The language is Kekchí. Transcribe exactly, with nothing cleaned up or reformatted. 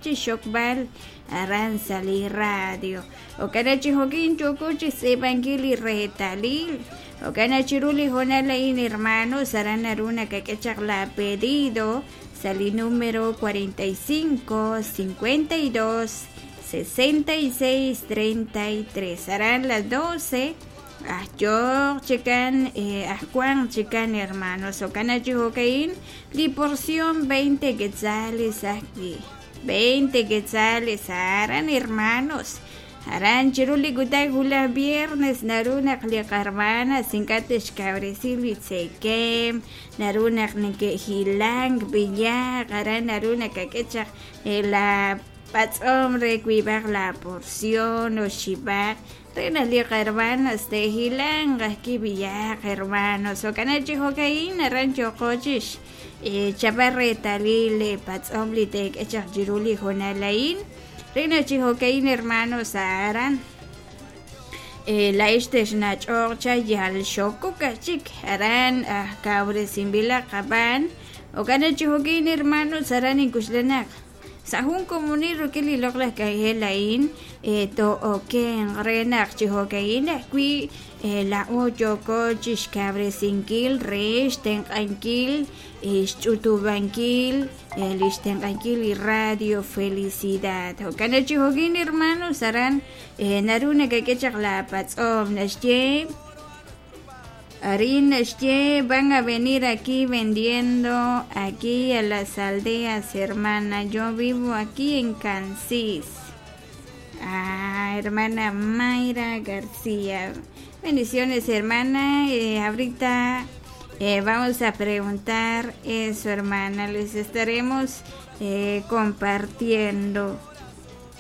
Chixxokb'al aran sa' li radio. Jo'kan chi jo'kin yooko chixtz'iib'ankil li reetalil. Jo'kan chiru li hoonal a'in, hermanos, aran naru nakak'e chaq la pedido sa' li número cuarenta y cinco, cincuenta y dos, sesenta y seis, treinta y tres. Aran las doce. Ajyoq chikan, eh, ajkuan chikan, hermanos. Jo'kan chi jo'kain li porción veinte quetzales ajwi'. veinte quetzales aran, hermanos. Aran chiru li kutan wulaj viernes naru naq li qarmanas ink'a' te'xkawresi li tzekem, naru naq neke'hilank b'iyaq, aran naru nakak'e chaq la patz'om re wiib'aq la porción oxib'aq re naq li qarmanas te'hilanq ajki' b'iyaq, hermanos. Jo'kan chi jo'kain aran yooko chix chapal reetalil li patz'om li te'k'e chaq chiru li hoonal a'in. Re naq chi jo'kain, hermanos, aran la'ix texnach'oq cha yal xokok ajchik aran ajkawresinb'ilaq qab'an. Jo'kan chi jo'kain, hermanos, aran inkuxlanaq sa' jun komonil rik'in li loq'laj k'anjel a'in to'oken re naq chi jo'kain ajwi' la'o yooko chixkawresinkil re xtenq'ankil xch'utub'ankil li xtenq'ankil li Radio Felicidad. Jo'kan chi jo'kain, hermanos, aran naru nakak'e chaq la patz'om naxye arin naxye van a venir aquí vendiendo aquí a las aldeas, hermana. Yo vivo aquí en Cansis. Ah, hermana Mayra García. Bendiciones, hermana. Eh, ahorita eh, vamos a preguntar eso, hermana. Les estaremos eh, compartiendo.